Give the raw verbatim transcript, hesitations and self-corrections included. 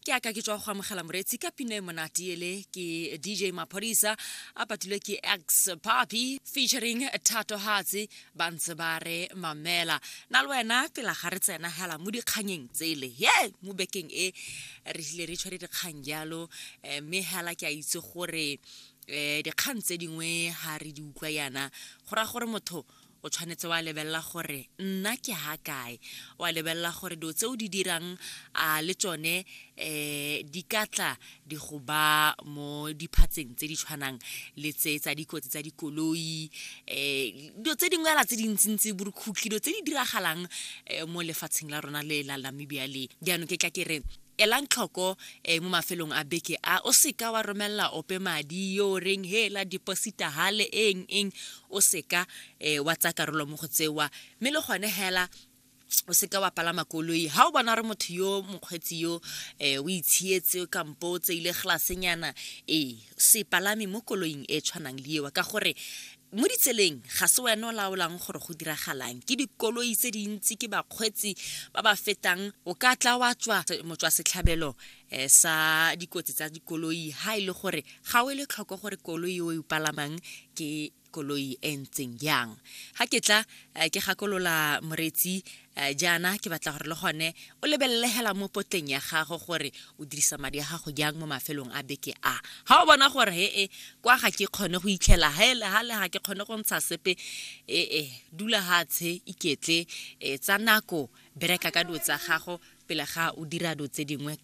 Ke aka ke tswa go amogela moreetsi ka pina e monate ele ke D J Maphodisa a patilwe ke X Papi featuring Thato Hatse, ba ntse ba re mamela na le wena. Pela ga re tsena hela mo dikganyeng tsele ye mo bekeng e re tlile re tshware dikgang jalo, eh, mme hela ke a itse gore um dikgang tse dingwe ga re di utlwa yana, go raya gore motho o tshwanetse wa lebelela gore nna ke ha kae, wa lebelela gore dilo tse o di dirang a le tsone um di ka tla di go ba mo diphatseng tse di tshwanang le tse tsa dikotsi tsa dikoloi, um dilo tse dingwe ela tse dintsintsi, borukhutlhi, dilo tse di diragalang um mo lefatsheng la rona le la Namibia le. Jaanong ke tla ke re elang tlhoko um mo mafelong a beke a, o seka wa romelela ope madi yo o reng hela deposita hale eng eng, o seka um wa tsaya karolo mo go tsewa. Mme le gone hela o seka wa palama koloi ga o bona gore motho yo mokgweetsi yo um o itshietse kampo o tseile glasenyana, ee, se palame mo koloing e tshwanang le eo, ka gore mo ditseleng ga se wena o laolang gore go diragalang. Ke dikoloi tse dintsi, ke bakgweetsi ba ba fetang, o ka tla wa tswa motswa setlhabelo um sa dikotsi tsa dikoloi ha e le gore ga o e le tlhoko gore koloi o e palamang ke koloi e ntseng jang. Ga ke tla eh, ke gakolola moreetsi eh, jaana, ke batla gore le gone o lebelele hela mo potleng ya gago gore o dirisa madi a gago jang mo mafelong a beke a. Ga o bona gore he e kwa ga ke kgone go itlhela hele gale, ga ke kgone go ntsha sepe, ee, dula hatshe, iketle, um tsa nako, bereka ka dilo tsa gago pele ga o dira dilo tse dingwe.